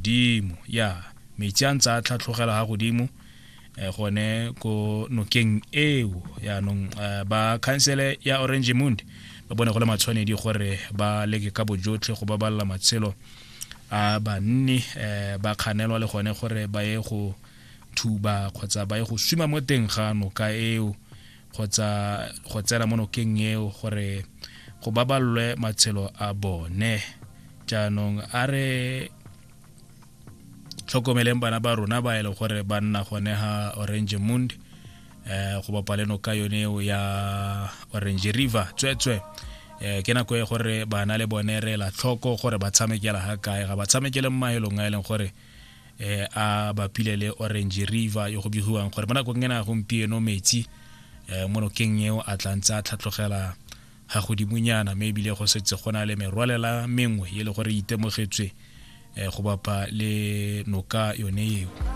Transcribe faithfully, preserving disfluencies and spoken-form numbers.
godimo. Ya metsi a ntse a tlhatlhogela ga godimo eh, gone ko nokeng eo. Yaanong eh, ba khansele ya Oranjemund ba bone go le matshwanedi gore ba leke ka bojotlhe go babalela matshelo a banni, eh, ba kganelwa le gone gore ba ye go thuba kgotsa ba ye go suma mo teng ga noka eo kgotsa go tsena mo nokeng eo gore go baballwe matshelo a bone. Jaanong a re tlhokomeleng bana ba rona ba e le gore ba nna gone ga Oranjemund, eh go bapa le noka yone eo ya Orange River. Tsweetswe eh ke nako e gore bana le bone re la tlhoko gore ba tshamekela ga kae, ga ba tshamekele mo mahelong a e leng gore eh a bapile le Orange River yo go begiwang gore mo nakong ena ya gompieno metsi eh mo nokeng eo a tla ntse a tlhatlogela ga godimonyana, mme ebile go setse go na le merwalela mengwe e le gore e itemogetswe eh go bapa le noka yone eo.